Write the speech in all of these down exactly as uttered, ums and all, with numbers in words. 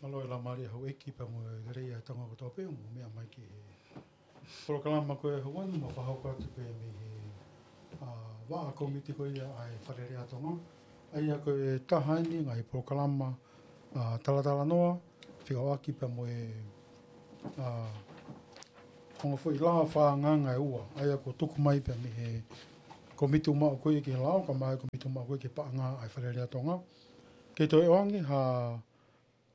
Mālō e laumālie houʻeiki pea mo e lelei ʻa e Tonga kotoa pē ʻoku mou meʻa mai ki he polokalama ko ē ʻo e ʻaho ni, ʻoku mau fakahoko atu pē mei he, ā, vaʻa kōmiti ko ia ʻa e Fale Alea Tonga. ʻA ia ko e taha eni e ngaahi polokalama, ā, talatalanoa, fekauʻaki pea mo e, ā, ongo foʻi lao fakaangaanga ʻe ua. ʻA ia kuo tuku mai pē mei he kōmiti ʻoku maʻu ko ia ki he lao, kae ʻumaʻā e kōmiti ʻoku maʻu ko ia ki he paʻanga ʻa e Fale Alea Tonga. Ke toe ʻoange ha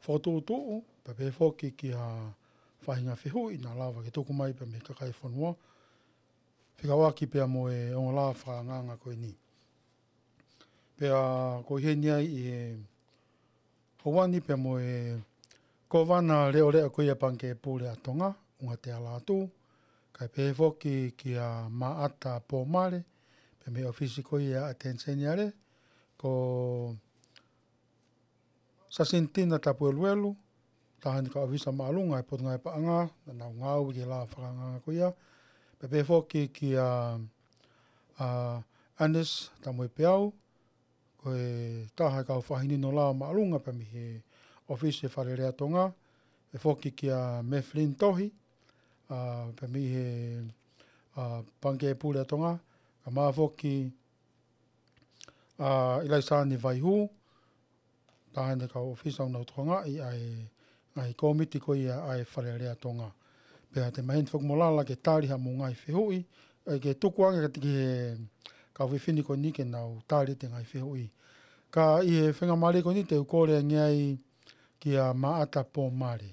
fokotuʻutuʻu, pea pehē foki ki ha faʻahinga fehuʻi naʻa lava ke tuku mai pē mei he kakai e fonua, fekauʻaki pea mo e ongo lao fakaangaanga ko eni. Pea ko e ʻi heni ai ʻi he ʻaho ni pea mo e Kōvana Leʻoleʻa ko ia ʻa e Pangikē Pule ʻa Tonga, ʻUnga Tealatu, kae pehē foki kia Maʻata Pōmale, pea mei he ʻōfisi ko ia ʻa e ʻAteni Seniale, ko Sasinetina Tapueluelu, taha eni e kau ʻōfisa māʻolunga ʻa e Potungāue Paʻanga, naʻa nau ngāue ki he lao fakaangaanga ko ia. Pea pehē foki kia, ā, Anes Tamuepeau, ko e taha e kau fakahinohino lao māʻolunga pea mei he ʻōfisi ʻo e Fale Alea Tonga. Pehē foki kia Mefilini Tohi, ā, pea mei he, ā, Pangikē Pule ʻa Tonga, kae ʻumaʻā foki, ā, ʻIlaisani Vaihū, taha eni e kau ʻōfisa ʻoku nau tokangaʻi ʻa e ngaahi kōmiti ko ia ʻa e Fale Alea Tonga. Pea te maheni foki mo lala ke tali haʻamou ngaahi fehuʻi, ʻa ia ke tuku ange kiate ki he kau fefine ko eni ke nau tali ʻete ngaahi fehuʻi. Ka ʻi he faingamālie ko eni te u kole ange ai kia Maʻata Pōmale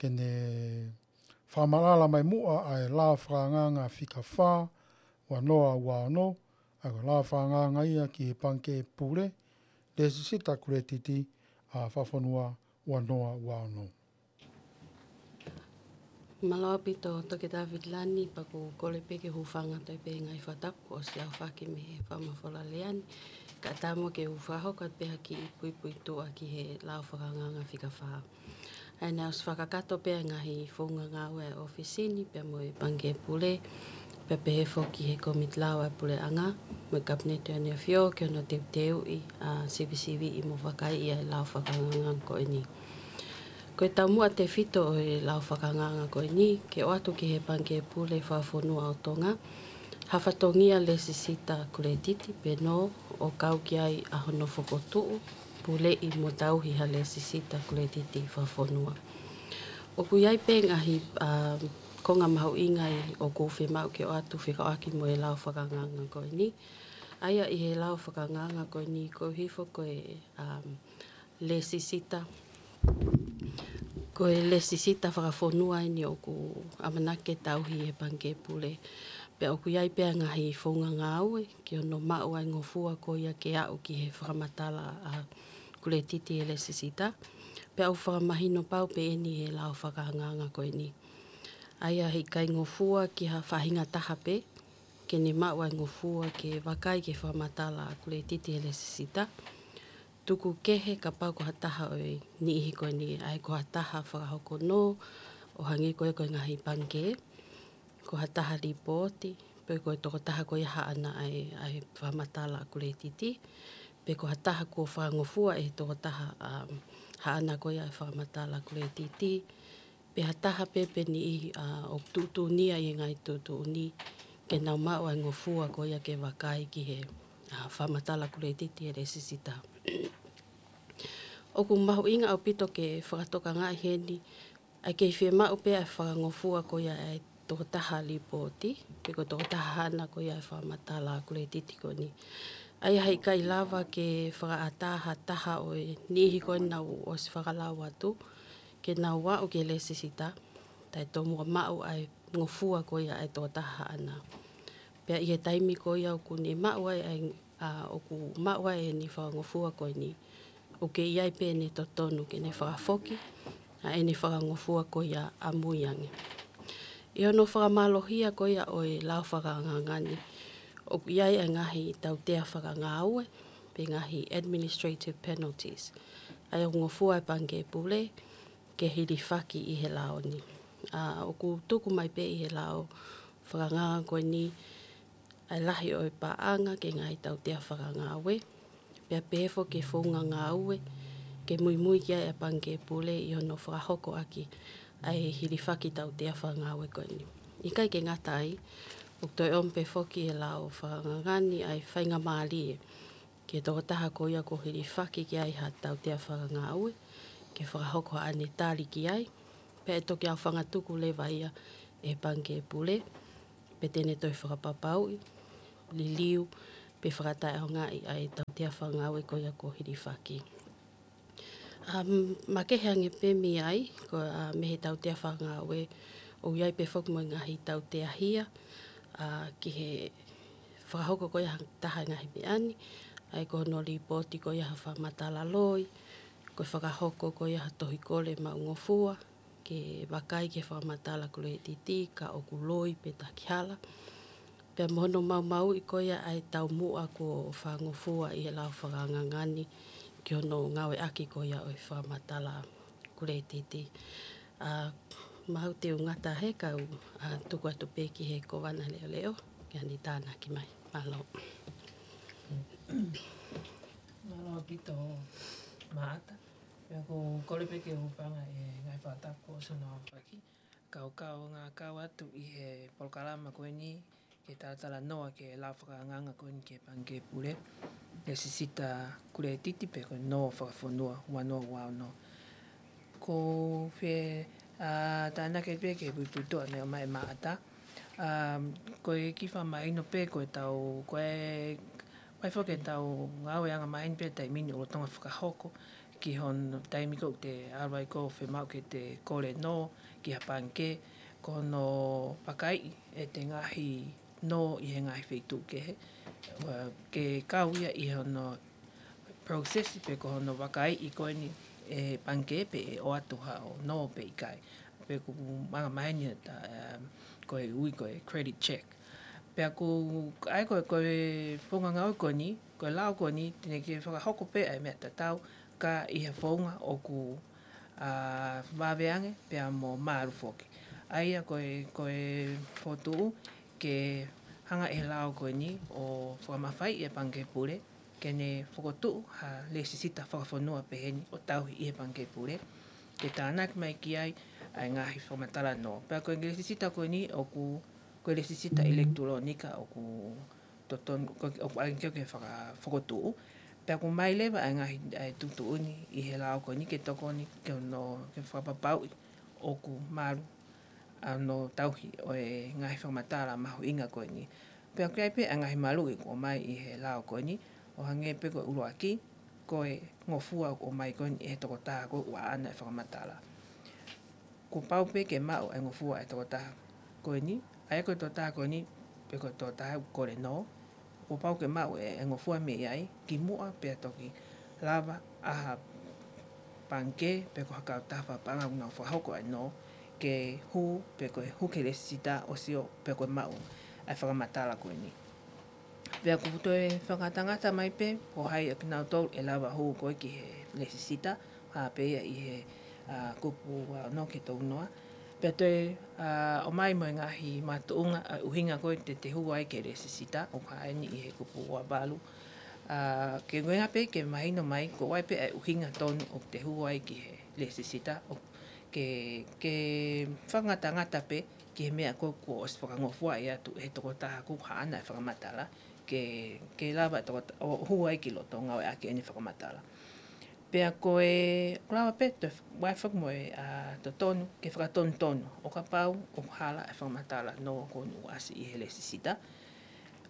ke ne fakamaʻalaʻala mai muʻa ʻa e lao fakaangaanga fika fā, ua noa ua ono, ʻa ia ko e lao fakaangaanga ia ki he Pangikē Pule, Lēsisita Kuletiti, ā, Fakafonua, ua noa ua ono. Mālō ʻaupito Toketā Vitilani, pea ʻoku ou kole pē ke u hūfanga atu pē he ngaahi fakatapu kuo ʻosi aofaki mei he fakamafola lea ni, kae ʻatā muʻa ke u fakahoko atu pē ha kiʻi puipuituʻa ki he lao fakaangaanga fika fā. ʻA ia naʻe ʻosi fakakakato pē ʻa e ngaahi founga ngāue ʻa e ʻōfisi ni pea mo e Pangikē Pule, pea pehē foki ki he Kōmiti Lao ʻa e Puleʻanga mo e Kapineti ʻo e ʻEne ʻAfio ki hono teuteuʻi, ā, sivisiviʻi mo vakaiʻi ʻa e lao fakaangaanga ko eni. Ko e taumuʻa tefito ʻo e lao fakaangaanga ko eni, ke ʻoatu ki he Pangikē Pule Fakafonua ʻo Tonga ha fatongia lēsisita kuletiti pē nō ʻo kau ki ai ʻa hono fokotuʻu, puleʻi mo tauhi ha lēsisita kuletiti fakafonua. ʻOku ʻi ai pē ngaahi, ā, konga mahuʻinga ʻoku fiemaʻu ke ʻoatu fekauʻaki mo e lao fakaangaanga ko eni. ʻA ia ʻi he lao fakaangaanga ko eni, ko e hifo ko e, ā, lēsisita, ko e lēsisita fakafonua eni ʻoku ʻamanaki ke tauhi ʻe he Pangikē Pule. Pea ʻoku ʻi ai pē ʻa e ngaahi founga ngāue ki hono maʻu ʻa e ngofua ko ia ke aʻu ki he fakamatala ʻa e kuletiti ʻa e lēsisita. Pea ʻoku fakamahino pau pē eni ʻe he lao fakaangaanga ko eni. ʻA ia heʻikai ngofua ki ha faʻahinga taha pē ke ne maʻu ʻa e ngofua ke vakai ki he fakamatala ʻa e kuletiti ʻa e lēsisita. Tuku kehe kapau ko ha taha ʻo e niʻihi ko eni, ʻa ia ko ha taha fakahoko nō, ʻo hangē ko e, ko e ngaahi pangikē, ko ha taha lipooti, pe ko e tokotaha ko ia haʻana ʻa e, ʻa e fakamatala ʻa e kuletiti, pe ko ha taha kuo fakangofua ʻe he tokotaha, um, haʻana ko ia ʻa e fakamatala ʻa e kuletiti, pe ha taha pē pe niʻihi, ā, ʻoku tuʻutuʻuni ia ʻi he ngaahi tuʻutuʻuni ke nau maʻu ʻa e ngofua ko ia ke vakai ki he, ā, fakamatala kuletiti ʻa e lēsisita. ʻOku mahuʻinga ʻaupito ke fakatokangaʻi heni, ʻa e kei fiemaʻu pē ʻa e fakangofua ko ia ʻa e tokotaha lipooti, pe ko e tokotaha haʻana ko ia ʻa e fakamatala kuletiti ko eni. ʻA ia heʻikai lava ke fakaʻatā ha taha ʻo e niʻihi ko eni naʻa nau ʻosi fakalau atu, ke nau aʻu ki he lēsisita, taʻetomuʻa maʻu ʻa e ngofua ko ia ʻa e tokotaha haʻana. Pea ʻi he taimi ko ia ʻoku ne maʻu ai ʻa e, ā, ʻoku maʻu ai ʻene fakangofua ko eni, ʻoku kei ʻi ai pē ʻene totonu ke ne fakafoki ʻa ʻene fakangofua ko ia ʻamui ange. ʻI hono fakamālohia ko ia ʻo e lao fakaangaanga ni, ʻoku ʻi ai ʻa e ngaahi tautea fakangāue, pe ngaahi administrative penalties, ʻa ia ʻoku ngofua ʻa e Pangikē Pule ke hilifaki ʻi he lao ni. Ā, ʻoku tuku mai pē ʻi he lao fakaangaanga ko eni ʻa e lahi ʻo e paʻanga ki he ngaahi tautea fakangāue, pea pehē foki ki he founga ngāue ke muimui ki ai ʻa e Pangikē Pule ʻi hono fakahoko ʻaki ʻa e hilifaki tautea fakangāue ko eni. ʻIkai ke ngata ai, ʻoku toe ʻomi pē foki ʻe he lao fakanganga ni ʻa e faingamālie ki he tokotaha ko ia kuo hilifaki ki ai ha tautea fakangāue, ke fakahoko haʻane tali ki ai, pea ʻe toki aofangatuku leva ia ʻe he Pangikē Pule, pe te ne toe fakapapauʻi, liliu, pe fakataʻeʻaongaʻi ʻa e tautea fakangāue ko ia kuo hilifaki. Um, makehe ange pē mei ai, ko, uh, mei he tautea fakangāue, ʻoku ʻi ai pē foki mo e ngaahi tautea hia, uh, ki he fakahoko ko ia ha taha e ngaahi meʻa ni, ʻa ia ko hono lipooti ko ia ha fakamatala loi, ko e fakahoko ko ia ha tohi kole maʻungofua, ke vakai ki he fakamatala kuletiti, ka ʻoku loi pe takihala. Pea mo hono maumauʻi ko ia ʻa e taumuʻa kuo fakangofua ʻi he lao fakanganga ni ki hono ngāueʻaki ko ia ʻo e fakamatala kuletiti. ʻA, mahalo te u ngata hē ka u, ʻa, tuku atu pē ki he Kōvana Leʻoleʻo, ke ne tānaki mai. Mālō. Mālō ʻaupito Maʻata. Pea ʻoku ou kole pē ke u hūfanga he ngaahi fakatapu kuo ʻosi hono aofaki. Kau kau ngā kau atu ʻi he polokalama ko eni, ke talatalanoa ki he lao fakanganga ko eni ki he Pangikē Pule, lēsisita kuletiti pe ko e nō fakafonua ua noa ua ono. Ko e fie, ʻa, tānaki pē ki he puipuituʻa naʻe ʻomai ʻe Maʻata. ʻA, ko e kiʻi fakamahino pē ko e tau, ko e, ko e foki e tau ngāueʻanga maheni pē taimi ni ʻo Tonga fakahoko ki hono taimi ko ē te ʻalu ai ko e fiemaʻu ke te kole nō ki ha pangikē, ko hono vakaiʻi ʻete ngaahi nō ʻi he ngaahi feituʻu kehe, ʻa, ke kau ia ʻi hono process pe ko hono vakaiʻi ko eni ʻe he pangikē pe ʻe ʻoatu haʻo nō pe ʻikai. Pe ʻoku anga maheni ʻeta, um, ko e ui ko e credit check. Pea ʻoku ʻai ko e, ko e founga ngāue ko eni, ko e lao ko eni, te ne ke fakahoko pē ʻa e meʻa tatau, ka ʻi ha founga ʻoku, ʻa, vave ange, pea mo mālu foki. ʻA ia ko e, ko e fokotuʻu, ke hanga ʻe he lao ko eni ʻo fakamafaiʻi e Pangikē Pule, ke ne fokotuʻu ha lēsisita fakafonua pehē ni ʻo tauhi ʻi he Pangikē Pule, ke tānaki mai ki ai ʻa e ngaahi fakamatala nō. Pea ko e lēsisita ko eni ʻoku, ko e lēsisita ʻilekitulōnika ʻoku totonu, ko, ʻoku ʻalu ki ai ke faka-, fokotuʻu. Pea ʻoku ʻomai leva ʻa e ngaahi, ʻa e tuʻutuʻuni ʻi he lao ko eni ke tokoni ki hono, ke fakapapauʻi ʻoku malu ʻa hono tauhi ʻo e ngaahi fakamatala mahuʻinga ko eni. Pea ʻoku ʻi ai pē ʻa e ngaahi maluʻi kuo ʻomai ʻi he lao ko eni, ʻo hangē pē ko e ʻuluaki, ko e ngofua kuo ʻomai ko eni ʻe he tokotaha ko ē ʻoku ʻaʻana e fakamatala. Kuo pau pē ke maʻu e ngofua ʻa e tokotaha ko eni, ʻa ia ko e tokotaha ko eni, pe ko e tokotaha ʻoku kole nō, kuo pau ke maʻu e, e ngofua mei ai, kimuʻa pea toki lava ʻa ha pangikē, pe ko ha kautaha fakapaʻanga ʻoku nau fakahoko ʻa e nō, ke hū, pe ko e hū ki he lēsisita ʻo sio, pe ko e maʻu ʻa e fakamatala ko eni. Pea ʻoku toe fakangatangata mai pē, ko hai ʻa kinautolu ʻe lava hū ko ē ki he lēsisita, hā pē ia ʻi he, ʻa, kupu ua ono ki he tolu noa. Pea toe, ʻa, ʻomai mo e ngaahi makatuʻunga ʻa e ʻuhinga ko ē te te hū ai ki he lēsisita, ʻoku hā eni ʻi he kupu ua valu. ʻA, ke ngoi pē ke mahino mai, ko e hā pē ʻa e ʻuhinga tonu ʻoku te hū ai ki he lēsisita, ʻo ke, ke fakangatangata pē ki he meʻa ko ē kuo ʻosi fakangofuaʻi atu ʻe he tokotaha ʻoku ʻaʻana e fakamatala, ke, ke lava e tokota-, ʻo hū ai ki loto ʻo ngāueʻaki ʻene fakamatala. Pea ko e, ʻoku lava pē toe ʻai foki mo e, ʻa, totonu, ke fakatonutonu, ʻo kapau ʻoku hala e fakamatala nō kuo ʻosi ʻasi ʻi he lēsisita.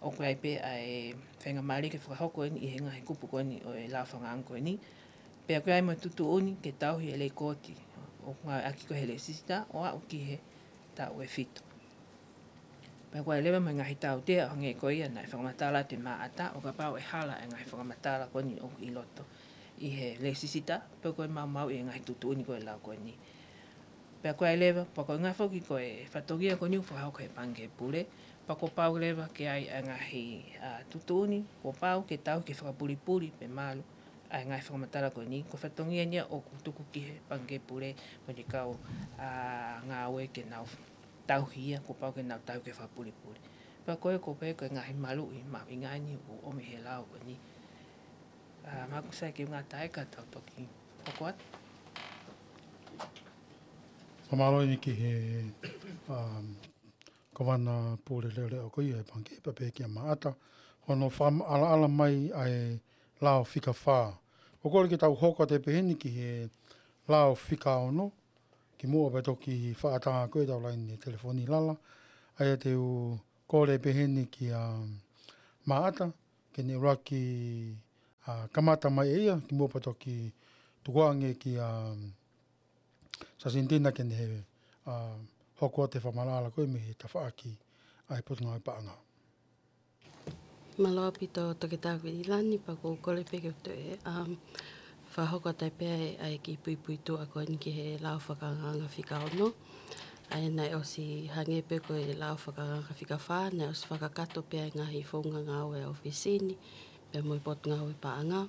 ʻOku ʻi ai pē ʻa e faingamālie ke fakahoko eni ʻi he ngaahi kupu ko eni ʻo e lao fakanganga ko eni. Pea ʻoku ʻi ai mo e tuʻutuʻuni ke tauhi e lekooti ʻoku ngāueʻaki ko ē he lēsisita ʻo aʻu ki he taʻu ʻe fitu. Pea ʻoku ʻi ai leva mo e ngaahi tautea ʻo hangē ko ia naʻe fakamatala atu ʻe Maʻata, ʻo kapau ʻe hala e ngaahi fakamatala ko eni ʻoku ʻi loto ʻi he lēsisita, pe ko e maumauʻi e ngaahi tuʻutuʻuni ko ē ʻo e lao ko eni. Pea ʻoku ʻi ai leva, pea ko e ngaahi foki ko e fatongia ko eni ʻoku fakahoko ʻe he Pangikē Pule, pea kuo pau leva ke ʻi ai e ngaahi, ʻa, tuʻutuʻuni, kuo pau ke tauhi ke fakapulipuli pe malu ʻa e ngaahi fakamatala ko eni, ko e fatongia eni ia ʻoku tuku ki he Pangikē Pule mo e kau, ʻa, ngāue ke nau tauhi ia, kuo pau ke nau tauhi ke fakapulipuli. Pea ko e, ko e pehē ko e ngaahi maluʻi mahuʻinga eni ʻoku ʻomi ʻe he lao ko eni. ʻA, mahalo ʻoku sai ke u ngata ai ka tau toki Hoko atu. Fakamālō eni ki he, um, Kovana Pule Leʻoleʻo ko ia ʻo e Pangikē, pea pehē kia Maʻata, hono fakamaʻalaʻala mai ʻa e lao fika fā. ʻOku ou kole ke tau hoko atu pē heni ki he lao fika ono, kimuʻa pea toki fakaʻatā ko ē ʻetau laine telefoni lala. ʻA ia te u kole pē heni kia Maʻata, ke ne ʻuluaki, a, kamata mai ʻe ia, kimuʻa pea toki tukuange kia, um, Sasintina ke ne, a, hoko atu e fakamaʻalaʻala ko ē mei he tafaʻaki ʻa e Potungāue Paʻanga. Mālō ʻaupito Toketā Kuini Lani, pea ʻoku ou kole pē ke u toe, um, fakahoko atu pē ʻa e, ʻa e kiʻi puipuituʻa ko eni ki he lao fakaangaanga fika ono. ʻA ia naʻe ʻosi hangē pē ko e lao fakaangaanga fika fā, naʻe ʻosi fakakakato pē ʻa e ngaahi founga ngāue ʻa e ʻōfisi ni, pea mo e Potungāue Paʻanga.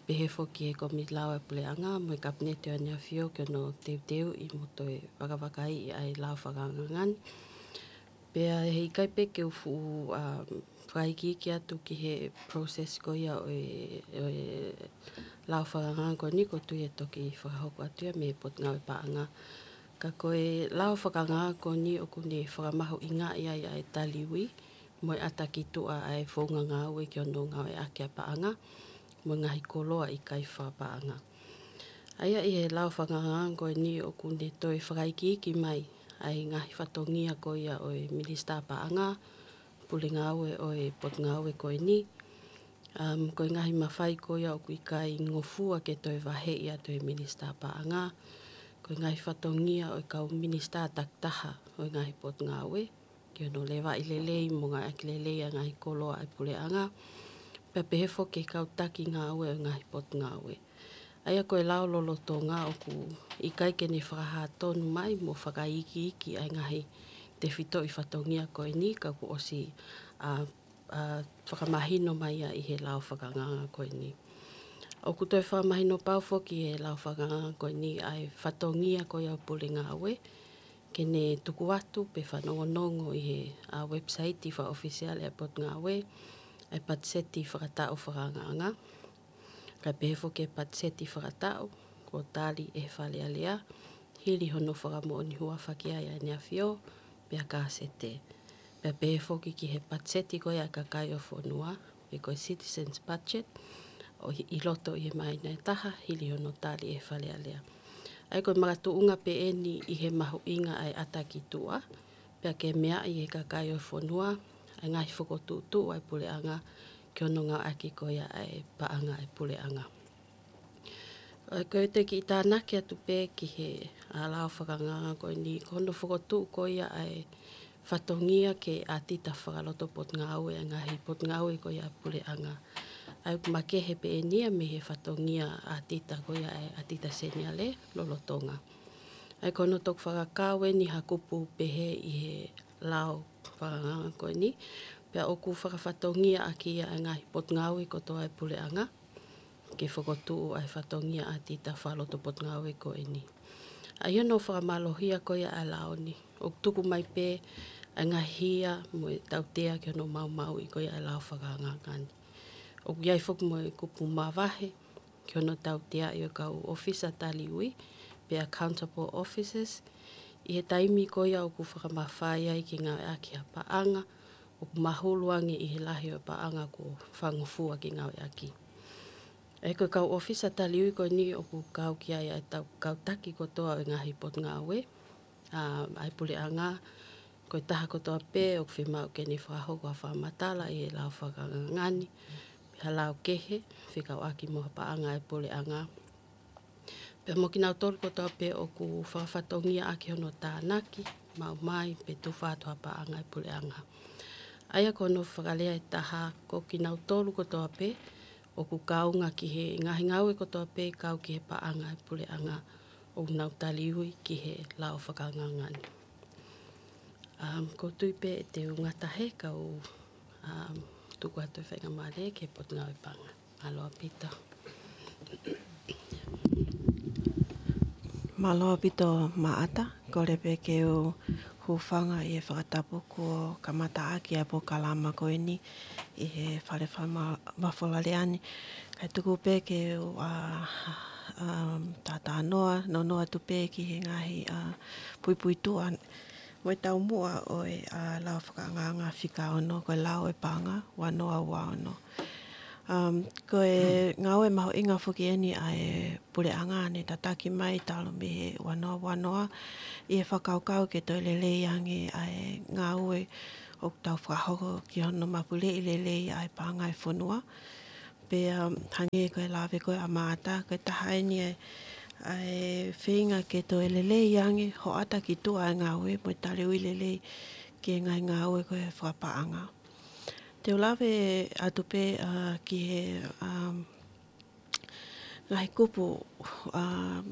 Pehē foki ki he Kōmiti Lao ʻa e Puleʻanga, mo e Kapineti ʻo ʻEne ʻAfio ki hono teuteuʻi mo toe vakavakaiʻi ʻa e lao fakaangaanga ni. Pea heʻikai pē ke u fuʻu, a, fakaikiiki atu ki he process ko ia ʻo e, ʻo e lao fakaangaanga ko eni, ʻoku ou tui ʻe toki fakahoko atu ia mei he Potungāue Paʻanga. Ka ko e lao fakaangaanga ko eni ʻoku ne fakamahuʻingaʻi ai ʻa e taliui mo e ʻata ki tuʻa ʻa e founga ngāue ki hono ngāueʻaki ʻa e paʻanga, mo e ngaahi koloa ʻikai fakapaʻanga. ʻA ia ʻi he lao fakaangaanga ko eni ʻoku ne toe fakaikiiki mai ʻa e ngaahi fatongia ko ia ʻo e Minisitā Paʻanga, Pule Ngāue ʻo e Potungāue ko eni. Um, ko e ngaahi mafai ko ia ʻoku ʻikai ngofua ke toe vaheʻi atu ʻe he Minisitā Paʻanga. Ko e ngaahi fatongia ʻo e kau minisitā takitaha ʻo e ngaahi potungāue, ki hono levaʻi lelei mo ngāueʻaki lelei ʻa e ngaahi koloa ʻa e Puleʻanga, pea pehē foki ki he kau taki ngāue ʻo e ngaahi potungāue. ʻA ia ko e lao lolotonga ʻoku ʻikai ke ne fakahā tonu mai mo fakaikiiki ʻa e ngaahi tefitoʻi fatongia ko eni, ka kuo ʻosi, a, a, fakamahino mai ia ʻi he lao fakaangaanga ko eni. ʻOku toe fakamahino pau foki ʻe he lao fakaangaanga ko eni ʻa e fatongia ko ia ʻo e Pule Ngāue, ke ne tuku atu pe fanongonongo ʻi he, a, website fakaʻofisiale ʻa e Potungāue, ʻa e patiseti fakataʻu fakaangaanga. Kae pehē foki ki he patiseti fakataʻu, kuo tali ʻe he Fale Alea, hili hono fakamoʻoni huafa ki ai ʻa ʻEne ʻAfio, pea kāsete. Pea pehē foki ki he patiseti ko ia ʻa e kakai ʻo e fonua, pe ko e citizens budget, ʻo ʻi, ʻi loto ʻi he māhina ʻe taha, hili hono tali ʻe he Fale Alea. ʻA ia ko e makatuʻunga pē eni ʻi he mahuʻinga ʻa e ʻata ki tuʻa, pea ke meaʻi ʻe he kakai ʻo e fonua ʻa e ngaahi fokotuʻutuʻu ʻa e Puleʻanga ki hono ngāueʻaki ko ia ʻa e paʻanga ʻa e Puleʻanga. ʻA ia ko e toe kiʻi tānaki atu pē ki he, a, lao fakaangaanga ko eni, ko hono fokotuʻu ko ia ʻa e fatongia ke ʻatita fakaloto potungāue ʻa e ngaahi potungāue ko ia ʻa e Puleʻanga. ʻA ia ʻoku makehe pē eni ia mei he fatongia ʻatita ko ia ʻa e ʻatita seniale lolotonga. ʻA ia ko hono toki fakakau eni ha kupu pehē ʻi he lao fakaangaanga ko eni, pea ʻoku fakafatongiaʻaki ia ʻa e ngaahi potungāue kotoa ʻa e Puleʻanga, ke fokotuʻu ʻa e fatongia ʻatita fakaloto potungāue ko eni. ʻA ia hono fakamālohia ko ia ʻa e lao ni, ʻoku tuku mai pē ʻa e ngaahi hia mo e tautea ki hono maumauʻi ko ia ʻa e lao fakaangaanga ni. ʻOku ʻi ai foki mo e kupu mavahe ki hono tauteaʻi ʻo e kau ʻōfisa taliui, pe accountable officers, ʻi he taimi ko ia ʻoku fakamafai ai ke ngāueʻaki ha paʻanga ʻoku mahulu ange ʻi he lahi ʻo e paʻanga kuo fakangofua ke ngāueʻaki. ʻA ia ko e kau ʻōfisa taliui ko eni ʻoku kau ki ai ʻa e tau, kau taki kotoa ʻo e ngaahi potungāue, a, ʻa e Puleʻanga, ko e taha kotoa pē ʻoku fiemaʻu ke ne fakahoko ha fakamatala ʻi he lao fakaangaanga ni, pe ha lao kehe fekauʻaki mo ha paʻanga ʻa e Puleʻanga. Pea mo kinautolu kotoa pē ʻoku fakafatongiaʻaki hono tānaki, maʻu mai, pe tufa atu ha paʻanga ʻa e Puleʻanga. ʻA ia ko hono fakalea ʻe taha, ko kinautolu kotoa pē ʻoku kaunga ki he ngaahi ngāue kotoa pē kau ki he paʻanga ʻa e Puleʻanga ʻoku nau taliui ki he lao fakaangaanga ni. Um, ʻoku ou tui pē ʻe te u ngata hē kau, um, tuku atu e faingamālie ki he Potungāue Paʻanga. Mālō ʻaupito. Mālō ʻaupito Maʻata, kole pē ke u hūfanga ʻi he fakatapu kuo kamataʻaki ʻa e polokalama ko eni ʻi he Fale Fakamafola Lea ni. Kae tuku pē ke u, a, um, tātānoa, nonoa atu pē ki he ngaahi, uh, puipuituʻa mo e taumuʻa ʻo e, uh, lao fakaʻangaʻanga fika ono, ko e lao ʻo e paʻanga, ua noa ua ono. Um, ko e ngāue mahuʻinga foki eni ʻa e puleʻanga ne tataki mai talu mei he ua noa ua noa ʻi he fakakaukau ke toe lelei ange ʻa e ngāue ʻoku tau fakahoko ki hono mapuleʻi lelei ʻa e paʻanga ʻo e fonua. Pea, um, hangē ko e lave ko ē ʻa Maʻata, ko e taha eni ʻa e, ʻa e feinga ke toe lelei ange, hoʻata ki tuʻa ʻa e ngāue mo e taliui lelei ki he ngaahi ngāue ko ē fakapaʻanga. Te u lave atu pē, uh, ki he, um, ngaahi kupu, um,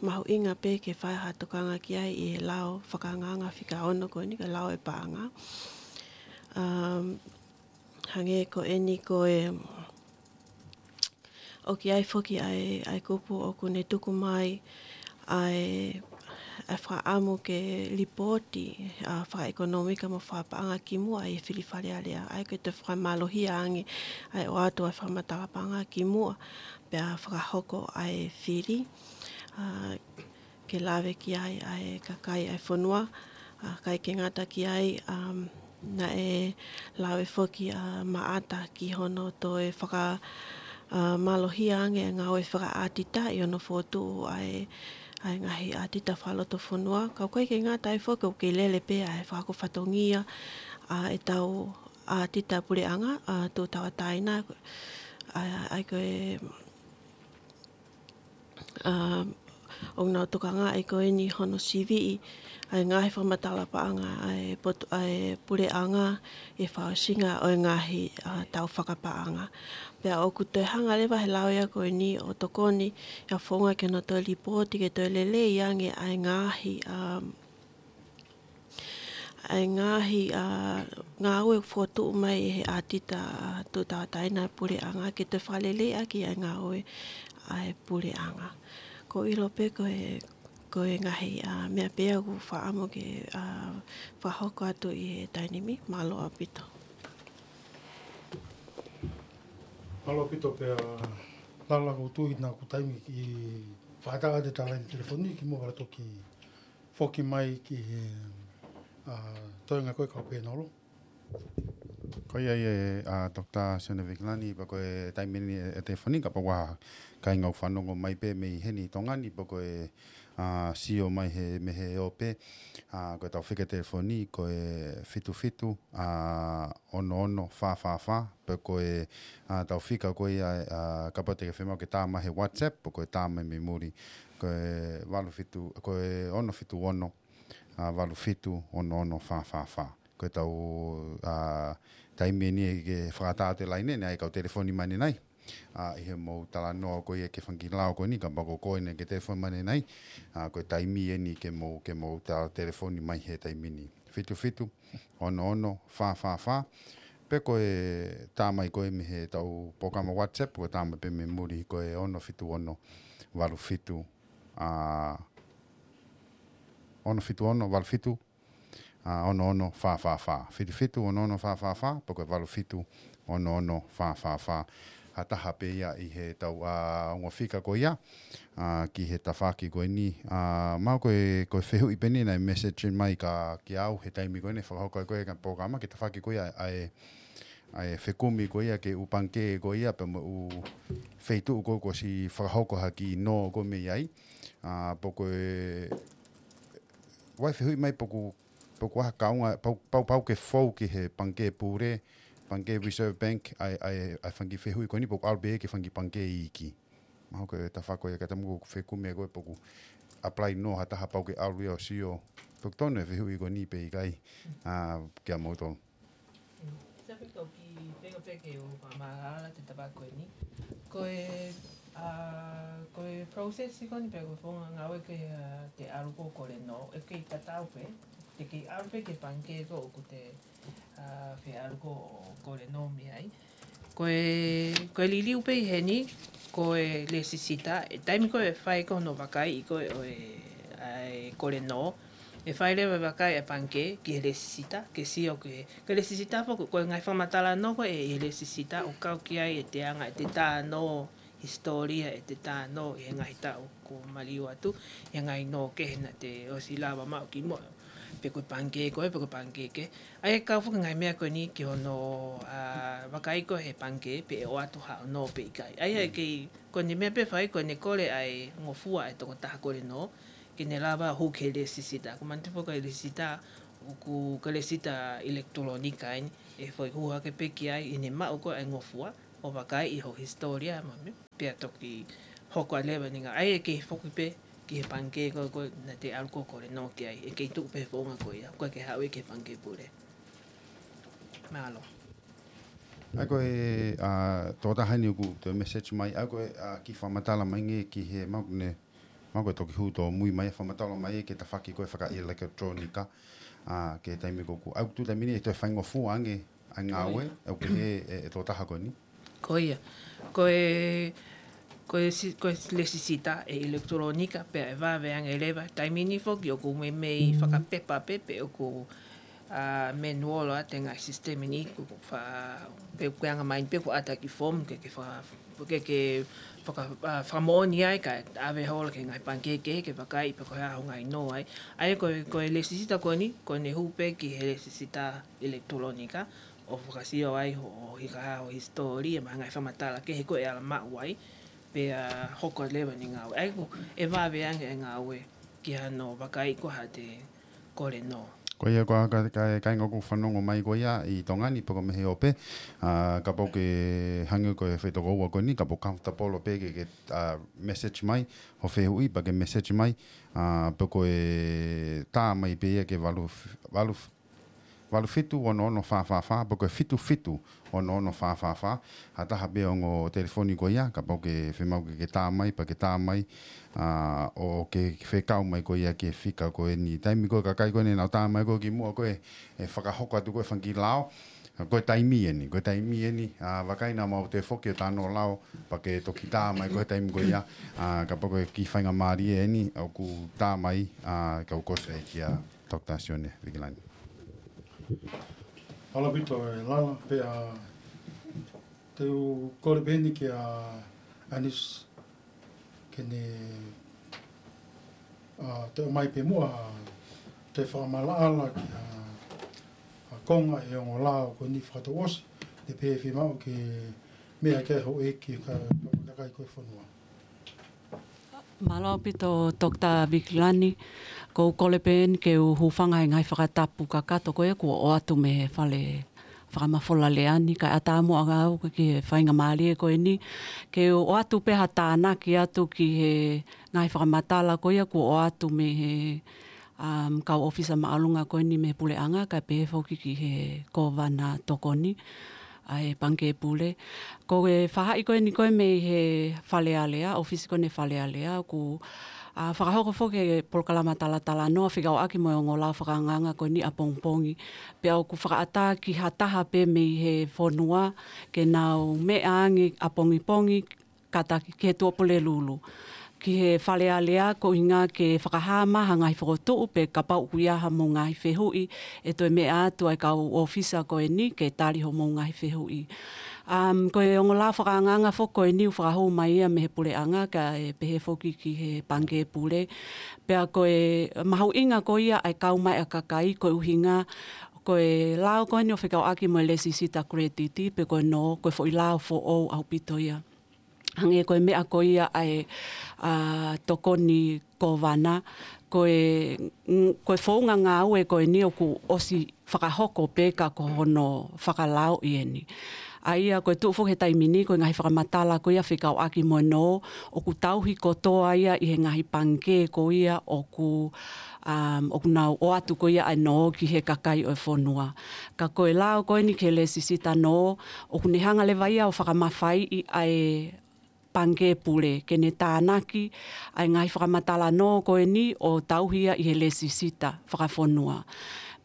mahuʻinga pē ke fai ha tokanga ki ai ʻi he lao fakaʻangaʻanga fika ono ko eni, ko e lao ʻo e paʻanga. Um, hangē ko eni ko e, ʻoku ʻi ai foki ʻa e, ʻa e kupu ʻoku ne tuku mai ʻa e, ʻa e fakaʻamu ke lipooti, ʻa, fakaʻekonōmika mo fakapaʻanga kimuʻa ʻi he fili Fale Alea, ʻa ia ko e toe fakamālohia ange ʻa e ʻoatu ʻa e fakamatala paʻanga kimuʻa pea fakahoko ʻa e fili, ʻa, ke lave ki ai ʻa e kakai ʻa e fonua, ʻa, ʻikai ke ngata ki ai, um, naʻe lave foki ʻa Maʻata ki hono toe faka, ʻa, mālohia ange ʻa e ngāue fakaʻātita ʻi hono fokotuʻu ʻa e, ʻa e ngaahi ʻātita fakalotofonua. Ka ʻoku ʻikai ke ngata ai foki ʻoku kei lele pē ʻa e fakahoko fatongia ʻa ʻetau ʻātita puleʻanga, ʻa, tuʻu tauʻatāina, ʻa, ʻa ia ko e ʻa, ʻoku nau tokangaʻi ko eni hono siviʻi ʻa e ngaahi fakamatala paʻanga ʻa e potu, ʻa e puleʻanga ʻi he fakaʻosinga ʻo e ngaahi, ʻa, tau fakapaʻanga. Pea ʻoku toe hanga leva he lao ia ko eni ʻo tokoni ʻa e founga ke nau toe lipooti ke toe lelei ange ʻa e ngaahi, ʻa, ʻa e ngaahi, ʻa, ngāue fokotuʻu mai ʻe he ʻātita, ʻa, tuʻu tauʻatāina ʻa e puleʻanga ke toe fakaleleiʻaki ʻa e ngāue ʻa e puleʻanga. Ko e ʻilo pē ko e, ko e ngaahi, ʻa, meʻa pē ia ʻoku ou fakaʻamu ke, ʻa, fakahoko atu ʻi he taimi ni. Mālō ʻaupito. Mālō ʻaupito pea, Lala, ʻoku ou tui naʻa kuo taimi ke fakatau atu e talaine telefoni kimuʻa pea toki foki mai ki he, ʻa, toenga ko ē kau pēnolo. Ko ia ia, ʻa, Doctor Sione Vikilani, pea ko e taimi ni ʻe, ʻe telefoni kapau ʻoku ʻi ai ha kāinga ʻoku fanongo mai pē mei heni Tonga ni, pea ko e, ʻa, sio mai he, mei he ope, ʻa, ko ʻetau fika telefoni, ko e fitu fitu, ʻa, ono ono fā fā fā, pea ko e, ʻa, ʻetau fika ko ia, ʻa, kapau te ke fiemaʻu ke tā mai he WhatsApp, pea ko e tā mai mei muli, ko e valu fitu, ko e ono fitu ono, ʻa, valu fitu ono ono fā fā fā. Ko ʻetau, ʻa, taimi eni ke fakatau atu e laine ni, ʻa e kau telefoni mai ʻanenai. ʻA, ʻi heʻemou talanoa ko ia ki he fanga kiʻi lao ko eni, kapau ko koe eni ke telefoni mai ʻanenai. ʻA, ko e taimi eni ke mou, ke mou tau telefoni mai he taimi ni. Fitu fitu, ono ono, fā fā fā. Pea ko e tā mai ko ē mei heʻetau polokalama WhatsApp, ko e tā mai pē mei muli ko e ono fitu ono, valu fitu, ʻa, ono fitu ono, valu fitu, ʻa, ono ono fā fā fā. Fitu fitu, ono ono fā fā fā, pea ko e valu fitu, ono ono fā fā fā. Ha taha pē ia ʻi heʻetau, ʻa, ongo fika ko ia, ʻa, ki he tafaʻaki ko eni. ʻA, mahalo ko e, ko e fehuʻi pē eni naʻe message mai kia, kia au he taimi ko eni fakahoko ai ko ē ʻeku polokalama ki he tafaʻaki ko ia ʻa e, ʻa e fekumi ko ia ki he ʻū pangikē ko ia pea mo e ʻū feituʻu ko ē kuo ʻosi fakahoko ha kiʻi nō ko ē mei ai. ʻA, pea ko e, ʻoku ʻi ai e fehuʻi mai pe ʻoku, pe ʻoku ʻi ai ha kaunga, pau, pau, pau ke fou ki he pangikē pule, pangikē Reserve Bank, ʻa e, ʻa e, ʻa e fanga kiʻi fehuʻi ko eni pe ʻoku ʻalu pē ki he fanga kiʻi pangikē iiki. Mahalo ko e tafaʻaki ia ka te mou fekumi ko ē pe ʻoku apply nō ha taha pau ke ʻalu ia ʻo sio. Pe ʻoku tonu e fehuʻi ko eni pe ʻikai, ʻa, kia moutolu. Sa pe kau ki fenga pē ke u fakamālala atu e tafaʻaki ko eni. Ko e, ʻa, ko e process ko eni pe ko e founga ngāue ke, ʻa, te ʻalu ko ē ʻo kole nō, ʻe kei tatau pē, te kei ʻalu pē ki he pangikē ko ē ʻoku te, ʻa, fie ʻalu ko ē ʻo kole nō mei ai. Ko e, ko e liliu pē ʻi heni, ko e lēsisita, ʻi he taimi ko ē ʻe fai ko ē hono vakaiʻi ko ē ʻo e, ʻa e kole nō, ʻe fai leva e vakai ʻa e pangikē ki he lēsisita, ke sio ki he, ko e lēsisita foki, ko e ngaahi fakamatala nō ko ē ʻi he lēsisita, ʻoku kau ki ai e te anga, e te tā nō, hisitōlia ʻete tā nō ʻi he ngaahi taʻu kuo maliu atu, ʻi he ngaahi nō kehe naʻa te ʻosi lava maʻu kimuʻa, pe ko e pangikē ko ē, pe ko e pangikē kehe. ʻA ia ʻoku kau foki e ngaahi meʻa ko eni ki hono, ā, vakai ko ē he pangikē pe ʻe ʻoatu haʻo nō pe ʻikai. ʻA ia ʻe kei, ko ʻene meʻa pē ʻe fai, ko ʻene kole ʻa e ngofua ʻa e tokotaha kole nō, ke ne lava ʻo hū ki he lēsisita. Ko e manatu foki ko e lēsisita, ʻoku ko e lēsisita ʻilekitulōnika eni, ʻe foʻi hū hake pē ki ai ʻi heʻene maʻu ko ē ʻa e ngofua, ʻo vakai ʻi ho hisitōlia mo e meʻa, pea toki hoko atu leva ʻene ngāue. ʻA ia ʻe kei foki pē ki he pangikē ko ē naʻa te ʻalu ʻo kole nō ki ai, ʻe kei tuʻu pē he founga ko ia, ʻoku ʻikai ke haʻu ia ki he pangikē pule. Mālō. ʻA ia ko e, ā, tokotaha eni ʻoku toe message mai, ʻa ia ko e, ā, kiʻi fakamatala mai ange ki he mau ne, mau ko e toki hū tōmui mai, fakamatala mai ki he tafaʻaki ko ē fakaʻilekitulōnika, ā, ki he taimi ko ē ʻoku, ʻa ia ʻoku tuʻu taimi ni ʻe toe faingofua ange ʻa e ngāue, ʻoku pehē ʻe, ʻe he tokotaha ko eni. Ko ia. Ko e, ko e si-, ko e lēsisita ʻe ʻilekitulōnika pea ʻe vave ange leva. Taimi ni foki ʻoku meimei fakapepa pē pe ʻoku, ā, manual ʻa e ngaahi sisitemi ni, ʻoku fa-, pe ʻoku anga mai pē ʻoku ʻata e kiʻi form ke, ke fa-, ke, ke faka-, ā, fakamoʻoni ai kae ʻave holo ki he ngaahi pangikē kehe ke vakai pe ko e hā ho ngaahi nō ai. ʻA ia ko e, ko e lēsisita ko eni, ko ʻene hū pē ki he lēsisita ʻilekitulōnika, ʻo fakasio ai ho, ho hika, ho hisitōlia, mo e ngaahi fakamatala kehe ko ē ʻe ala maʻu ai, pea hoko leva ʻene ngāue. ʻA ia ʻoku, ʻe vave ange e ngāue ki hano vakai ko ē haʻate kole nō. Ko ia ko e ka, ka, kāinga ʻoku fanongo mai ko ia ʻi Tonga ni pe ko e mei he ope, ā, kapau ʻoku ke hangē ko e foʻi tokoua ko eni, kapau ʻoku comfortable pē ke, ke, ā, message mai ho fehuʻi, pea ke message mai, ā, pe ko e tā mai pē ia ki he valu, valu, valu fitu ono ono fā fā fā, pe ko e fitu fitu ono ono fā fā fā, ha taha pē ongo telefoni ko ia, kapau ʻoku ke fiemaʻu ke, ke tā mai, pea ke tā mai, ā, ʻo ke fekau mai ko ia ki he fika ko eni. Taimi ko ē kakai ko eni ʻenau tā mai ko ē kimuʻa ko ē, ʻe fakahoko atu ko ē fanga kiʻi lao, ko e taimi eni, ko e taimi eni, ā, vakai naʻa mau toe foki ʻo tā nō lao, pea ke toki tā mai ko ē he taimi ko ia, ā, kapau ko e kiʻi faingamālie eni, ʻoku tā mai, ā, kau kosi ai kia Doctor Sione Vikilani. Mālō ʻaupito e Lala, pea te u kole pē eni kia Anis ke ne, ā, toe ʻomai pē muʻa, toe fakamaʻalaʻala ki ha, ha konga ʻi he ongo lao ko eni fakatouʻosi, ne pehē fiemaʻu ke meʻa ki ai houʻeiki ka, ka, kakai ko ē fonua. Mālō ʻaupito Doctor Vikilani, ʻoku ou kole pē eni ke u hūfanga he ngaahi fakatapu kakato ko ē kuo ʻoatu mei he fale fakamafola lea ni, kae ʻatā muʻa au ki he faingamālie ko eni, ke u ʻoatu pē ha tānaki atu ki he ngaahi fakamatala ko ia kuo ʻoatu mei he, um, kau ʻōfisa māʻolunga ko eni mei he puleʻanga, kae pehē foki ki he kōvana tokoni ʻa e Pangikē Pule. Ko e faʻahi ko eni ko ē mei he Fale Alea, ʻōfisi ko eni Fale Alea, ʻoku, ā, fakahoko foki e polokalama talatalanoa fekauʻaki mo e ongo lao fakaangaanga ko eni ʻapongipongi. Pea ʻoku fakaʻatā ki ha taha pē mei he fonua ke nau meʻa ange ʻapongipongi, kātaki ki he Tuʻapulelulu, ki he Fale Alea, koeʻuhinga ke fakahā mai ha ngaahi fokotuʻu pe kapau ʻoku ʻi ai haʻamou ngaahi fehuʻi, ʻe toe meʻa atu ʻa e kau ʻōfisa ko eni ke tali hoʻomou ngaahi fehuʻi. Um, ko e ongo lao fakaangaanga foki ko eni ʻoku fakahū mai ia mei he puleʻanga kae pehē foki ki he Pangikē Pule. Pea ko e mahuʻinga ko ia ʻa e kau mai ʻa e kakai koeʻuhinga ko e lao ko eni ʻoku fekauʻaki mo e lēsisita credit pe ko e nō, ko e foʻi lao foʻou ʻaupito ia. Hangē ko e meʻa ko ia ʻa e, ā, tokoni kōvana, ko e, mm, ko e founga ngāue ko eni ʻoku ʻosi fakahoko pē ka ko hono fakalaoʻi eni. ʻA ia ko e tuʻu foki he taimi ni, ko e ngaahi fakamatala ko ia fekauʻaki mo e nō, ʻoku tauhi kotoa ia ʻi he ngaahi pangikē ko ia ʻoku, um, ʻoku nau ʻoatu ko ia ʻa e nō ki he kakai ʻo e fonua. Ka ko e lao ko eni ki he lēsisita nō, ʻoku ne hanga leva ia ʻo fakamafaiʻi ʻa e Pangikē Pule, ke ne tānaki ʻa e ngaahi fakamatala nō ko eni ʻo tauhi ia ʻi he lēsisita fakafonua.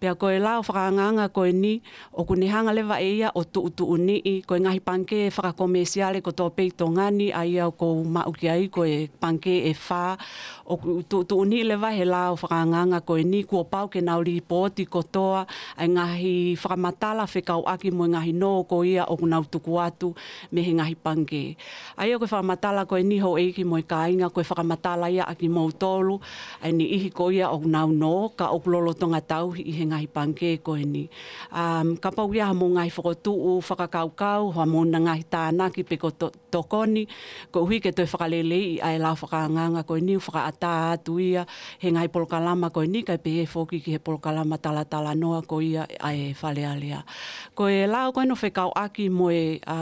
Pea ko e lao fakaangaanga ko eni, ʻoku ne hanga leva ʻe ia ʻo tuʻutuʻuniʻi, ko e ngaahi pangikē fakakomēsiale kotoa pē ʻi Tonga ni, ʻa ia ʻoku ou maʻu ki ai, ko e pangikē ʻe fā, ʻoku tuʻutuʻuniʻi leva he lao fakaangaanga ko eni, kuo pau ke nau lipooti kotoa ʻa e ngaahi fakamatala fekauʻaki mo e ngaahi nō ko ia ʻoku nau tuku atu mei he ngaahi pangikē. ʻA ia ko e fakamatala ko eni houʻeiki mo e kāinga, ko e fakamatala ia ʻa kimoutolu, ʻa e niʻihi ko ia ʻoku nau nō, ka ʻoku lolotonga tauhi ʻi he ngaahi pangikē ko eni. Um, kapau ʻoku ʻi ai haʻamou ngaahi fokotuʻu fakakaukau, haʻamou ngaahi tānaki pe ko to-, tokoni, koeʻuhi ke toe fakaleleiʻi ʻa e lao fakaangaanga ko eni, fakaʻatā atu ia he ngaahi polokalama ko eni, kae pehē foki ki he polokalama talatalanoa ko ia ʻa e Fale Alea. Ko e lao ko eni ʻoku fekauʻaki mo e, ʻa,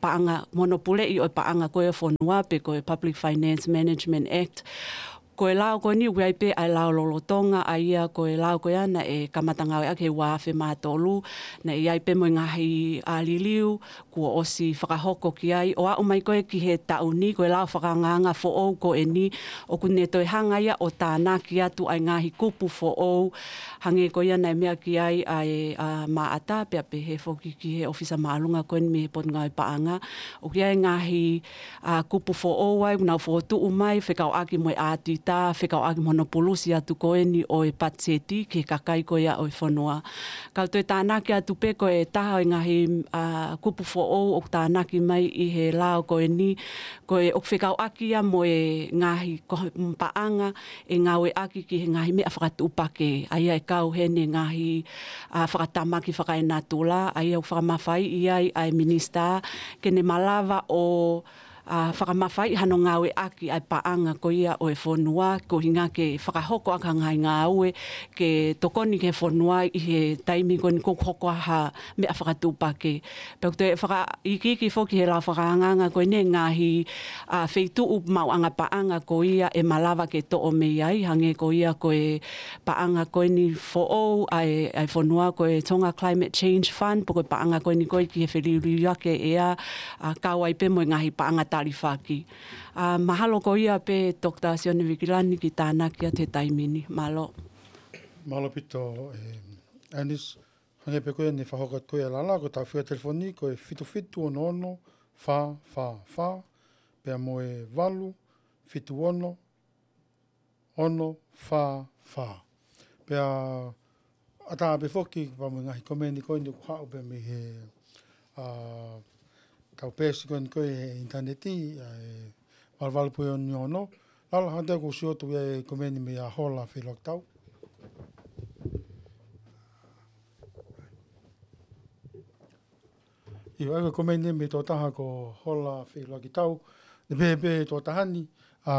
paʻanga, mo hono puleʻi ʻo e paʻanga ko e fonua pe ko e Public Finance Management Act. Ko e lao ko eni ʻoku ʻi ai pē ʻa e lao lolotonga, ʻa ia ko e lao ko ia naʻe kamata ngāueʻaki he ua afe mā tolu, naʻe ʻi ai pē mo e ngaahi, ʻa, liliu kuo ʻosi fakahoko ki ai, ʻo aʻu mai ko ē ki he taʻu ni, ko e lao fakaangaanga foʻou ko eni, ʻoku ne toe hanga ia ʻo tānaki atu ʻa e ngaahi kupu foʻou, hangē ko ia naʻe meʻa ki ai ʻa e, ʻa, Maʻata, pea pehē foki ki he ʻōfisa māʻolunga ko eni mei he Potungāue Paʻanga. ʻOku ʻi ai e ngaahi, ʻa, kupu foʻou ai, ʻoku nau fokotuʻu mai, fekauʻaki mo e ʻautita, fekauʻaki mo hono pulusi atu ko eni ʻo e patiseti ki he kakai ko ia ʻo e fonua. Kau toe tānaki atu pē ko e taha ʻo e ngaahi, ʻa, kupu foʻou ʻoku tānaki mai ʻi he lao ko eni, ko e ʻoku fekauʻaki ia mo e ngaahi ko-, paʻanga ʻe ngāueʻaki ki he ngaahi meʻa fakatuʻupakē, ʻa ia ʻe kau heni e ngaahi, ʻa, fakatamaki fakaenatula, ʻa ia ʻoku fakamafaiʻi ai ʻa e minisitā ke ne malava ʻo, ʻa, fakamafaiʻi hano ngāueʻaki ʻa e paʻanga ko ia ʻo e fonua, koeʻuhinga ke fakahoko ʻaki ha ngaahi ngāue ke tokoni ki he fonua ʻi he taimi ko eni ʻoku hoko ai ha meʻa fakatuʻupakē. Pea ʻoku toe fakaikiiki foki he lao fakaangaanga ko eni e ngaahi, ʻa, feituʻu maʻuʻanga paʻanga ko ia ʻe malava ke toʻo mei ai, hangē ko ia ko e paʻanga ko eni foʻou ʻa e, ʻa e fonua ko e Tonga Climate Change Fund, pe ko e paʻanga ko eni ko ē ki he feliuliuaki ʻea, ʻa, kau ai pē mo e ngaahi paʻanga talifaki. ʻA, mahalo ko ia pē Toketā Sione Vikilani ke tānaki atu he taimi ni. Mālō. Mālō ʻaupito, ē, Anis. Hangē pē ko ia naʻe fakahoko atu ko ia ʻe Lala, ko e tau fika telefoni ko e fitu fitu ono ono fā fā fā, pea mo e valu fitu ono ono fā fā. Pea ʻatā pē foki pea mo e ngaahi komeni ko eni ʻoku haʻu pē mei he, ʻa, tau peesi ko eni ko ē he ʻinitaneti, ʻa e valu valu pē ono ono. Lala, hangē ʻoku ou sio atu ia e komeni mei a Hola Feilokitau. ʻIo, ʻa e komeni mei he tokotaha ko Hola Feilokitau. Naʻe pehē pē tokotaha ni, ʻa,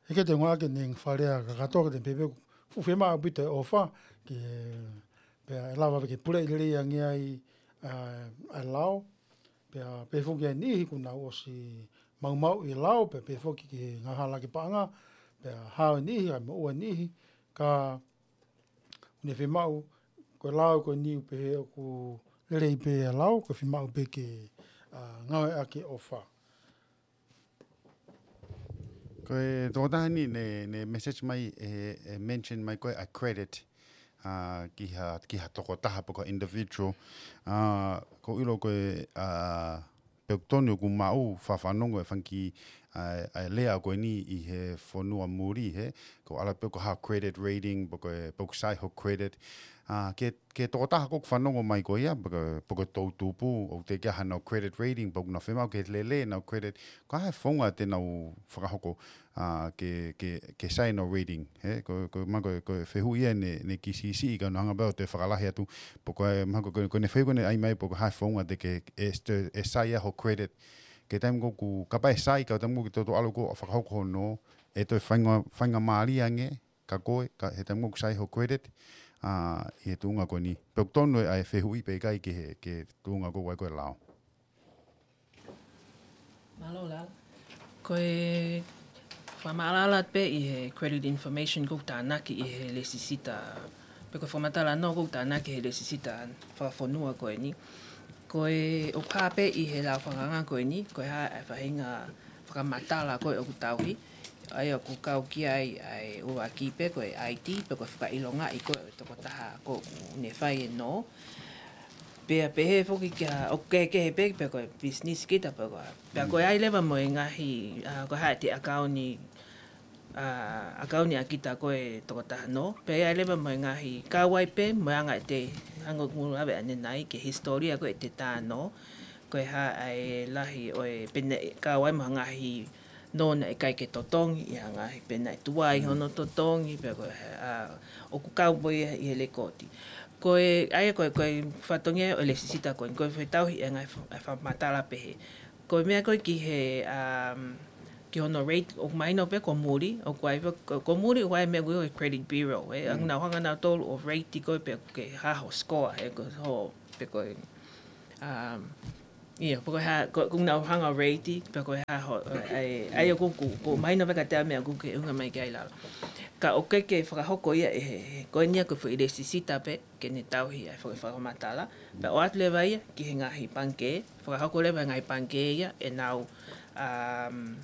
he ʻikai te u ngāueʻaki e ngaahi fale ʻa kakato, ka te u pehē pē ʻoku fuʻu fiemaʻu ʻaupito e ʻofa, ke, pea ʻe lava ke puleʻi lelei ange ai, ʻa, ʻa e lao, pea pehē foki ʻa e niʻihi kuo nau ʻosi maumauʻi e lao, pea pehē foki ki he ngaahi hala ki paʻanga, pea hao e niʻihi, ʻa e moʻua e niʻihi, ka ʻoku ne fiemaʻu, ko e lao ko eni ʻoku pehē ʻoku lelei pē ʻa e lao, ko e fiemaʻu pē ke, ʻa, ngāueʻaki e ʻofa. Ko e tokotaha ni naʻe, naʻe message mai, ʻe, ʻe mention mai ko ē ʻa e credit, ʻa, ki ha, ki ha tokotaha pe ko ha individual. ʻA, ʻoku ou ʻilo ko e, ʻa, pea ʻoku tonu ʻoku maʻu fakafanongo e fanga kiʻi, ʻa, ʻa e lea ko eni ʻi he fonua muli he, ko e ʻalu pē ko ha credit rating, pe ko e, pe ʻoku sai ho credit. ʻA, ki he, ki he tokotaha ʻoku fanongo mai ko ia, pe ko e, pe ko e toʻutupu, ʻoku teʻeki ai haʻanau credit rating, pe ʻoku nau fiemaʻu ke lele ʻenau credit, ko e hā e founga te nau fakahoko, ʻa, ke, ke, ke sai ʻenau rating, he, ko, ko, mahalo ko, ko e fehuʻi ia naʻe, naʻe kei siʻisiʻi ka u anga pē ʻo toe fakalahi atu, pe ko e, mahalo ko, ko, ko ʻene fehuʻi ko ʻene ʻai mai, pe ko e hā e founga te ke, ʻe, ʻe, ʻe sai ai ho credit. Ki he taimi ko ē ʻoku, kapau ʻe sai, ka taimi ko ē ʻoku toutou ʻalu ʻo fakahoko hono, ʻe toe fainga, faingamālie ange, ka ko e, ka he taimi ko ē ʻoku sai ho credit, ʻa, ʻi he tuʻunga ko eni. Pea ʻoku tonu ʻa e fehuʻi pe ʻikai ki he, ki he tuʻunga ko ē ʻoku ʻi ai ko ē e lao. Mālō Lala. Ko e fakamaʻalaʻala pē ʻi he credit information ʻoku tānaki ʻi he lēsisita, pe ko e fakamatala nō ʻoku tānaki he lēsisita fakafonua ko eni. Ko e ʻoku hā pē ʻi he lao fakaangaanga ko eni, ko e hā e faʻahinga fakamatala ko ē ʻoku tauhi, ʻA ia ʻoku kau ki ai ʻa e ʻuluaki pē ko e I D, pe ko e fakaʻilongaʻi ko e tokotaha ko ē ʻoku ne fai e nō. Pea pehē foki kia, ʻoku kehekehe pē pe ko e business kita pe ko e. Pea ko e ʻai leva mo e ngaahi, ʻa, ko e hā ʻete ʻakauni, ʻa, ʻakauni ʻa kita ko e tokotaha nō. Pea ʻai leva mo e ngaahi kau ai pē, mo e anga ʻete, hangē ko ʻeku lave ʻanenai, ki he hisitōlia ko ē ʻete tā nō. Ko e hā ʻa e lahi ʻo e pene kau ai mo e ngaahi nō naʻe ʻikai ke totongi, ʻi ha ngaahi pe naʻe tuai hono totongi, pe ko e, ʻa, ʻoku kau mo ia ʻi he lekooti. Ko e, ʻa ia ko e, ko e fatongia ʻo e lēsisita ko eni, ko e fetauhi e ngaahi fa-, e fakamatala pehē. Ko e meʻa ko ē ki he, um, ki hono rate, ʻoku mahino pē ko muli, ʻoku ʻai fo-, ko, ko muli ʻoku ʻai meʻa ko e Credit Bureau, ē, ʻa nau hanga nautolu ʻo rate ko ē pe ke hā ho score, ē, ko ho, pe ko e, um, ʻIo, pe ko e hā, ko, ko nau hanga rate, pe ko e hā ho, ʻa e, ʻa ia ʻoku, ʻoku, ʻoku mahino pē ka te ʻai meʻa ʻoku ke ʻunga mai ki ai lalo. Ka ʻoku ke fakahoko ia ʻe he, he, ko eni ia ko e foʻi lēsisita pē, ke ne tauhi ʻa e foʻi fakamatala. Pea ʻoatu leva ia, ki he ngaahi pangikē, fakahoko leva ngaahi pangikē ia, ʻenau, um,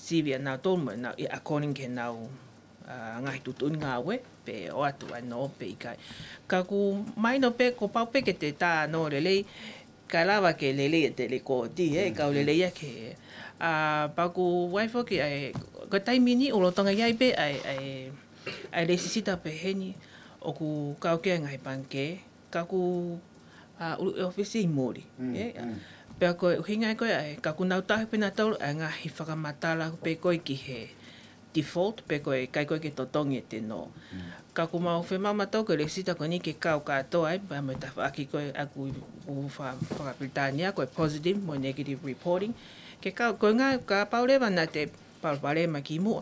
sivi ʻanautolu mo ʻenau, ʻi according ki heʻenau, ʻa, ngaahi tuʻutuʻuni ngāue, pe ʻoatu ʻa e nō pe ʻikai. Ka ʻoku mahino pē, kuo pau pē ke te tā nō lelei, kae lava ke lelei ʻete lekooti, ē, kau lelei ia ke. ʻA, pea ʻoku ʻai foki ʻa e, ko e taimi ni ʻoku lolotonga ʻi ai pē ʻa e, ʻa e, ʻa e lēsisita pehē ni, ʻoku kau ki ai ngaahi pangikē, ka ʻoku, ʻa, ʻulu ʻe ʻōfisi ʻi muli, ē. Pea ko e ʻuhinga ia ko ē ʻa e, ka ʻoku nau tauhi pē nautolu ʻa e ngaahi fakamatala pē ko ē ki he default, pe ko e ʻikai ko ē ke totongi ʻete nō. Ka ʻoku mau fiemaʻu mautolu ko e lēsisita ko eni ke kau kātoa ai, pea mo e tafaʻaki ko ē ʻoku, ʻoku fa-, faka-Pilitānia, ko e positive mo e negative reporting. Ke kau, ko e ngaahi, kapau leva naʻa te palopalema kimuʻa,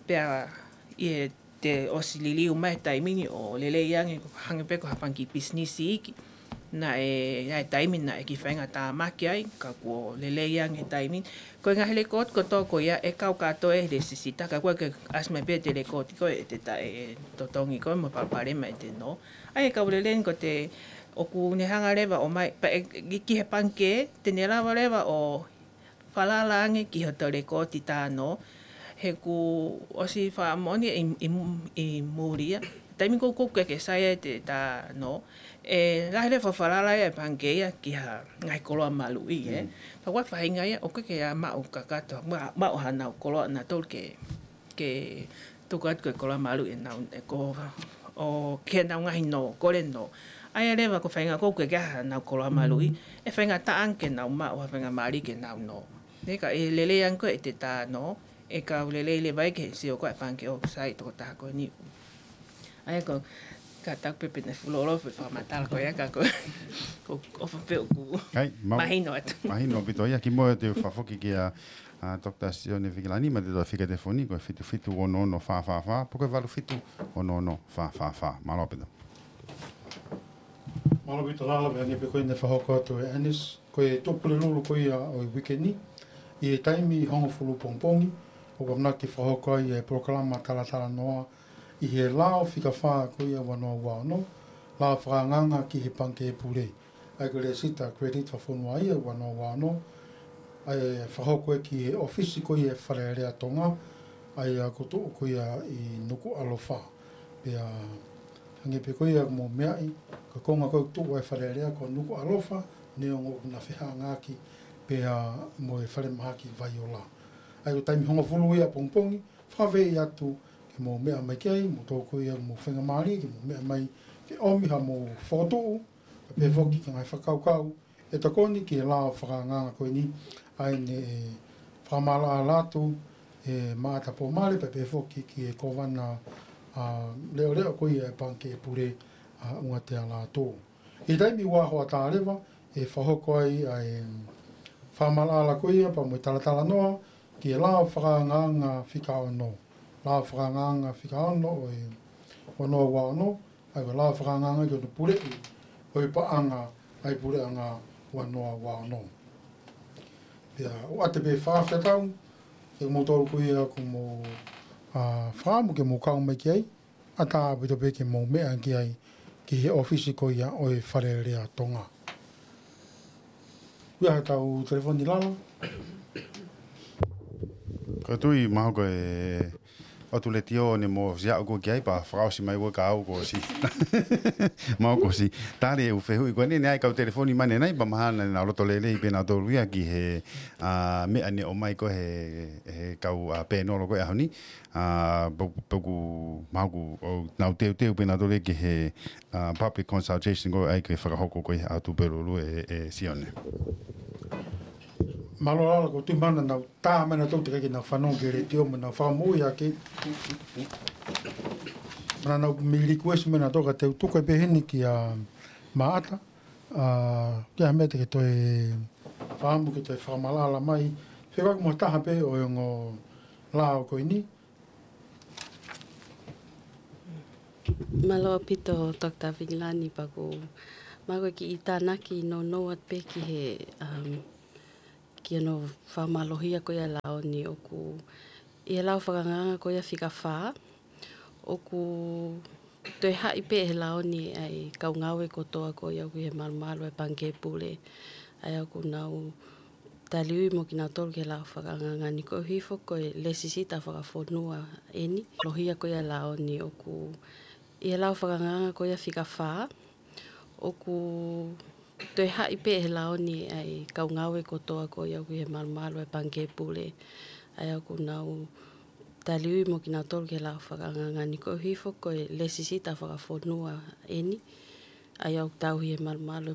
pea ʻi he te ʻosi liliu mai taimi ni ʻo lelei ange, ko hangē pē ko ha fanga kiʻi pisinisi iiki. Naʻe, naʻe taimi naʻe kiʻi faingatāmaki ai, ka kuo lelei ange taimi. Ko e ngaahi lekooti kotoa ko ia ʻe kau kātoa ʻe he lēsisita, ka ʻoku ʻikai ke ʻasi mai pē ʻete lekooti ko ē ʻete tā, ʻe totongi ko ē mo e palopalema ʻete nō. ʻA ia ʻoku lelei ni ko ē ʻoku ne hanga leva ʻo ʻomai, pea ʻe, ki, ki he pangikē, te ne lava leva ʻo falala ange ki hoto lekooti tā nō, he kuo ʻosi fakamoʻoni ʻi, ʻi, ʻi muli ia. Taimi ko ē ʻoku ʻikai ke sai ai ʻete tā nō, ʻe lahi leva e falala ia ʻa e pangikē ia ki ha ngaahi koloa maluʻi, ē. Pea ʻoku ʻi ai e faʻahinga ia, ʻoku ʻikai ke ʻi ai ha maʻu kakato, ma-, maʻu hanau koloa nautolu ke, ke tuku atu ko e koloa maluʻi ʻenau, ʻe ko, ʻo ke nau ngaahi nō, kole nō. ʻA ia leva ko e faʻahinga ʻoku ʻikai ke ʻi ai hanau koloa maluʻi, ʻe faingataʻa ange ke nau maʻu ha faʻahinga mali ke nau nō. Ē ka ʻe lelei ange ko ē ʻete tā nō, ʻe kau lelei leva ia ke sio ko ē ʻa e pangikē ʻoku sai tokotaha ko eni. ʻA ia ko, ka tau pē pē ne fulo ʻo e fakamatala ko ia ka ko, ko, ʻofa pē ʻoku. Kai, mau-, mahino atu. Mahino ʻaupito ia, kimuʻa te u fakafoki kia, ʻa, Doctor Sione Vikilani, mo ʻete fika telefoni, ko e fitu fitu ono ono fā fā fā, pe ko e valu fitu ono ono fā fā fā. Mālō ʻaupito. Mālō ʻaupito Lala, pea hangē pē ko ē naʻe fakahoko atu ʻe Anis, ko e Tuʻapulelulu ko ia ʻo e uike ni, ʻi he taimi hongofulu pongipongi, ʻoku ʻamanaki fakahoko ai e polokalama talatalanoa, ʻi he lao fika fā ko ia ua noa ua ono, lao fakaangaanga ki he pangikē pule. ʻA ia ko e lēsisita Credit Fakafonua ia ua noa ua ono, ʻa ia ʻe fakahoko ia ki he ʻōfisi ko ia ʻa e Fale Alea Tonga, ʻa ia ʻoku tuʻu ko ia ʻi Nukuʻalofa. Pea hangē pē ko ia ʻoku mou meaʻi, ko e konga ko ē ʻoku tuʻu ai e Fale Alea ko Nukuʻalofa, neongo ʻoku na fehangahangai pea mo e falemahaki Vaiola. ʻA ia ko e taimi hongofulu ia pongipongi, fakaafeʻi atu ke mou meʻa mai ki ai, mo tokua ia mo e faingamālie ke mou meʻa mai ke ʻomi haʻamou fokotuʻu, pea pehē foki ki he ngaahi fakakaukau ʻe tokoni ki he lao fakaangaanga ko eni, ʻa ia naʻe fakamaʻalaʻala atu ʻe Maʻata Pōmale, pea pehē foki ki he Kōvana, ʻa, leʻoleʻo ko ia ʻa e pangikē pule, ʻa, ʻUngatea Lātū. ʻI he taimi ua hoʻatā leva, ʻe fakahoko ai ʻa e fakamaʻalaʻala ko ia pea mo e talatalanoa ki he lao fakaangaanga fika ono. Lao fakaangaanga fika ono ʻo e ua noa ua ono, ʻa ia ko e lao fakaangaanga ki hono puleʻi ʻo e paʻanga ʻa e puleʻanga ua noa ua ono. Pea ʻoatu pē e fakafetaʻi, ʻe kimoutolu ko ia ʻoku mou, ʻa, fakaʻamu ke mou kau mai ki ai, ʻatā ʻaupito pē ke mou meʻa ki ai ki he ʻōfisi ko ia ʻo e Fale Alea Tonga. Ko ia haʻatau telefoni Lala. ʻOku tui mahalo ko e ʻotu letiō ne mo siaʻu ko ki ai pea fakaʻosi mai ua ka au ko si. Mahalo ko si. Tali e ʻū fehuʻi ko eni, ne ʻai kau telefoni mai ʻanenai pea mahalo naʻa nau loto lelei pē nautolu ia ki he, ʻa, meʻa ne ʻomai ko ē he, he kau, ʻa, pēnolo ko ē ʻaho ni. ʻA, pe-, pe ʻoku mahalo ʻoku nau teuteu pē nautolu ia ki he, ʻa, public consultation ko ē ʻai ke fakahoko ko ē ʻi Tupelu ʻe, ʻe Sione. Mālō Lala, ʻoku tui mahalo naʻa nau tā mai nautolu teʻeki ke nau fanongo ki he letiō mo nau fakamoʻui ʻaki. Naʻa nau mei request mai nautolu ka te u tuku pē heni kia Maʻata, ʻa, ki ha meʻa te ke toe fakamu ke toe fakamaʻalaʻala mai. Fekauʻaki mo ha taha pē ʻo e ongo lao ko eni. Mālō ʻaupito Doctor Vingilani, pea ʻoku mahalo ko e kiʻi tānaki nounou atu pē ki he, um, ki hono fakamālohia ko ia e lao ni ʻoku ʻi he lao fakaangaanga ko ia fika fā, ʻoku toe haʻi pē he lao ni ʻa e kau ngāue kotoa ko ia ʻoku ʻi he malumalu ʻa e Pangikē Pule, ʻa ia ʻoku nau taliui mo kinautolu ki he lao fakaangaanga ni koeʻuhi foki ko e lēsisita fakafonua eni. Lohia ko ia e lao ni ʻoku ʻi he lao fakaangaanga ko ia fika fā, ʻoku toe haʻi pē he lao ni ʻa e kau ngāue kotoa ko ia ʻoku ʻi he malumalu ʻa e Pangikē Pule, ʻa ia ʻoku nau taliui mo kinautolu ki he lao fakaangaanga ni koeʻuhi foki ko e lēsisita fakafonua eni, ʻa ia ʻoku tauhi ʻe he malumalu